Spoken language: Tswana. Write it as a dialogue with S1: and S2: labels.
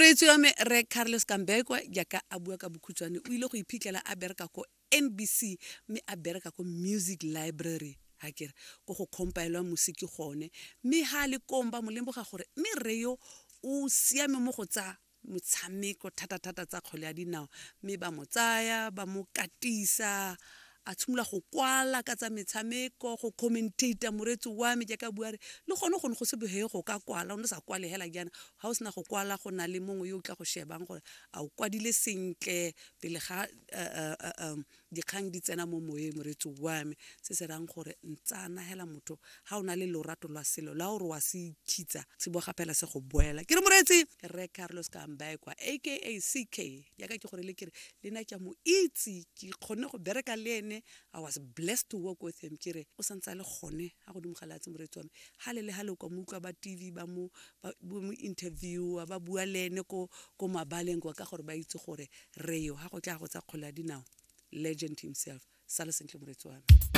S1: Moreetsi wa me Rre Carlos Kambekwa jaaka a bua ka bokhutshwane o ile go iphitlhela a bereka ko NBC mme a bereka ko Music Library ha kere ko go compilwa musiki gone mme ha a le kong ba mo lemoga gore mme rre yo o siame mo go tsa motshameko thata-thata tsa kgwele ya dinao mme ba mo tsaya ba mo katisa a tshimolola go kwala ka tsa metshameko go commentator moreetsi wa me jaaka bua re le gone gone go se bohe go ka kwala o ne sa kwale hela jaana ga o sena go kwala go na le mongwe yo o tla go shebang gore a o kwadile sentle pele ga dikgang di tsena mo moyeng moreetsi wa me se se rang gore ntsana hela motho ga o na le lorato lwa selo la gore wa se ikhitsa se bo gapela se go boela ke re moreetsi rre Carlos Kambaekwa aka CK jaaka ke gore le kere le nna ke a mo itse ke kgonne go bereka le ene. I was blessed to work with him. Ke re o santse a le gone ga godimo ga lefatshe moreetsi wa me gale le gale kwa mo utlwa ba TV ba mo ba mo interviewa ba bua le ene ko ko mabaleng kwa ka gore ba itse gore re yo ga go tla go tsa kgwele ya dinao legend himself. Sala sentle moreetsi wa me.